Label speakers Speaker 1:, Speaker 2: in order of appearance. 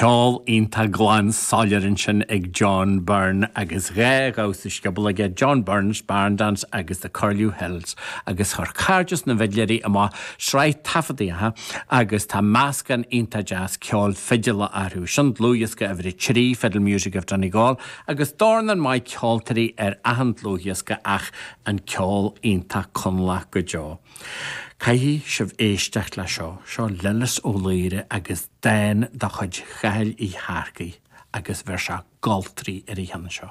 Speaker 1: Ceol iontach glan soiléir ansin ag John Byrne agus dha dhamhsa scioból aige, John Byrne's Barn Dance agus The Curlew Hills agus chuir Cairdeas na bhFidléirí amach sraith taifeadtaíocha agus tá meascán iontach deas ceoil fidile orthu. Sin dlúthdhiosca uimhir a 3, Fiddle Music of Donegal, agus dornán maith ceoltóirí ar achan dlúthdhiosca ach an ceol iontach Conallach go deo. Caithfidh sibh éisteacht le seo. Seo Lillis Ó Laoire agus dán de chuid Chathail Uí Shearcaigh agus bheir sé goltraí ar an cheann seo.